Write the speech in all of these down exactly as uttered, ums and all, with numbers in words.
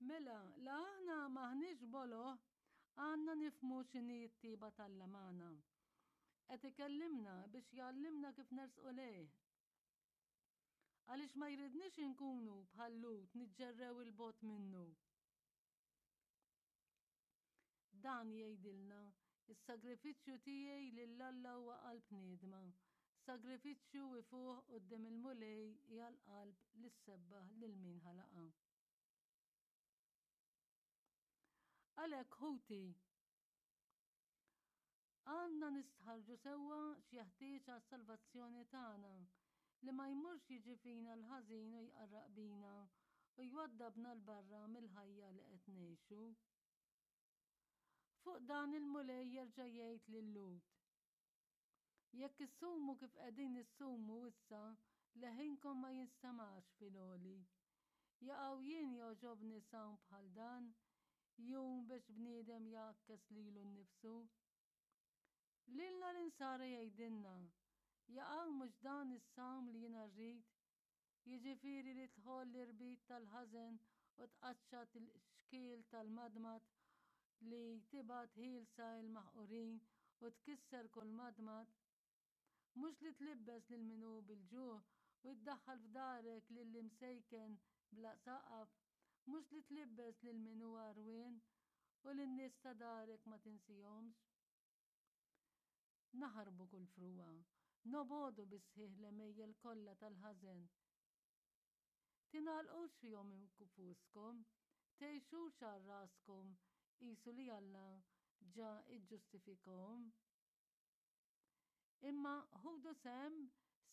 Mela, la aħna m'aħniex boloh, għandna nifhmu x'inhi t-tiba t'Alla magħna. Qed ikellimna biex jgħallimna kif nersqu lejh. Għaliex ma jridniex inkunu bħal Lut niġġerrew 'il bogħod minnu. Dan jgħidilna, is-sagrifiċċju tiegħi lil Alla huwa qalb niedma, sagrifiċċju ifuħ quddiem il-Mulej hija l-qalb li ssebbaħ lil min ħalaqha. Għalhekk ħuti, għandna nistħarrġu sewwa x'jeħtieġ għas-salvazzjoni tagħna, li ma jmurx jiġi fina l-ħażin u jqarraq bina u jwaddabna 'l barra mill-ħajja li qed ngħixu. Fuq dan il-Mulej jerġa' jgħid lil Lut, Jekk issumu kif qegħdin issumu issa, leħinkom ma jinstemax fil-għoli. Jaqaw jien jogħġobni sawm bħal dan, jum biex bniedem jgħakkes lilu nnifsu? Lilna l-insara jgħidilna, Jaqaw mhux dan is-sawm li jiena rrid? Jiġifieri li tħoll l-irbit tal-ħażen u tqaċċat il-xkiel tal-madmad, li tibgħat ħielsa l-maħqurin u tkisser kull madmad? Mhux li tlibbes lil min hu bil-ġuħ u ddaħħal f'darek lill-imsejken bla saqaf, mhux li tlibbes lil min hu għarwien u lin-nies ta' darek ma tinsihomx? Naħarbu kull frugħa, nobogħdu bis-sħiħ l-għemejjel kollha tal-ħażen. Tingħalqux fihom infuskom, tgħixux għal raskom qisu li Alla ġa ġġustifikahom. Imma ħudu sehem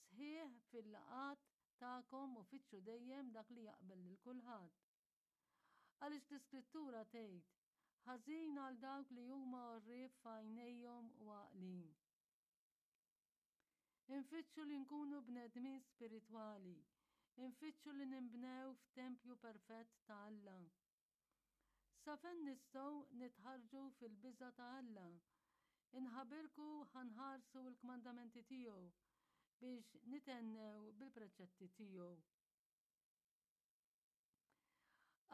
sħiħ fil-laqgħat tagħkom u fittxu dejjem dak li jaqbel lil kulħadd. Għaliex l-Iskrittura tgħid, Ħażin għal dawk li huma għorrief f'għajnejhom u għaqlin. Infittxu li nkunu bnedmin spiritwali, infittxu li ninbnew f'tempju perfett ta' Alla. Sa fejn nistgħu nitħarrġu fil-biża' ta' Alla, inħabirku ħa nħarsu l-kmandamenti tiegħu biex nithennew bil-preċetti tiegħu.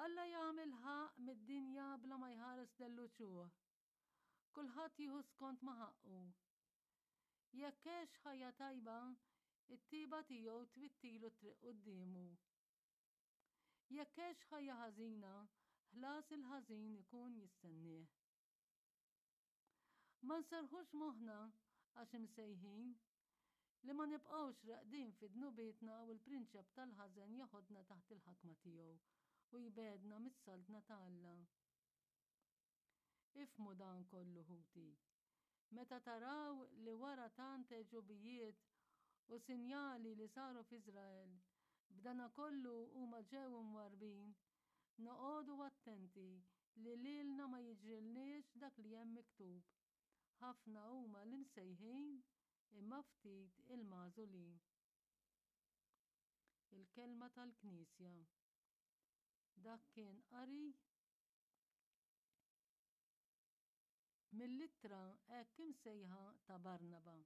Alla jagħmel ħaqq mid-dinja bla ma jħares lell-uċuħ. Kulħadd jieħu skont ma ħaqqu. Jekk għex ħajja tajba, it-tiba tiegħu twittilu t-triq quddiemu. Jekk għex ħajja ħażina, ħlas il-ħażin ikun jistennieh. Ma nserrħux moħħna għax imsejħin li ma nibqgħux reqdin fi dnubietna u l-prinċep tal-ħażen jeħodna taħt il-ħakma tiegħu u jbegħedna mis-saltna ta' Alla. Ifhmu dan kollu ħuti. Meta taraw li wara tant għeġubijiet u sinjali li saru f'Iżrael, b'dana kollu huma ġew imwarrbin, noqogħdu attenti li lilna ma jiġrilniex dak li hemm miktub. Ħafna huma l-imsejħin imma ftit il-magħżulin. Il-kelma tal-Knisja. Dak kien qari mill-ittra hekk imsejħa ta' Barnaba.